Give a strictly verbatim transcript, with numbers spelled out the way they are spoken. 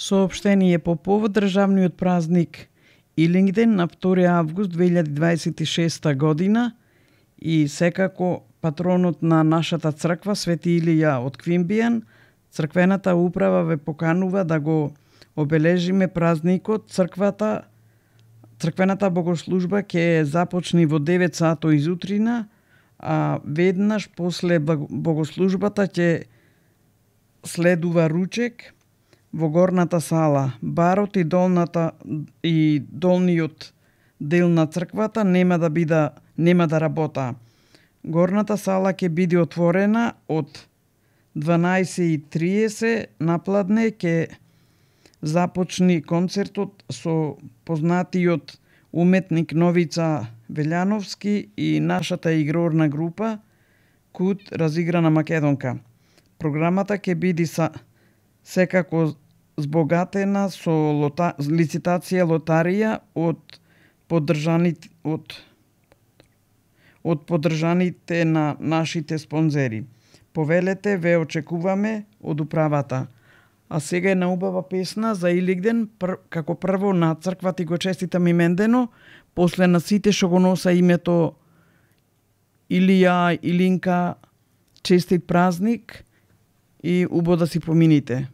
Соопштение по повод државниот празник Илингден на втори август две илјади дваесет и шеста година и секако патронот на нашата црква Свети Илија од Квимбијан, црквената управа ве поканува да го обележиме празникот. Црквата Црквената богослужба ќе започне во девет сато изутрина, а веднаш после богослужбата ќе следува ручек во горната сала. Барот и долната и долниот дел на црквата нема да бида нема да работа. Горната сала ќе биде отворена од дванаесет и триесет напладне, ќе започне концертот со познатиот уметник Новица Велјановски и нашата игрорна група Кут разиграна македонка. Програмата ќе биде са секако збогатена со лота, лицитација лотарија од поддржаните од од поддржаните на нашите спонзери. Повелете ве очекуваме од управата. А сега е на убава песна за Илингден, пр, како прво на црквата и го честитам имендено, после на сите што го носа името Илија, Илинка, честит празник и убаво да си помините.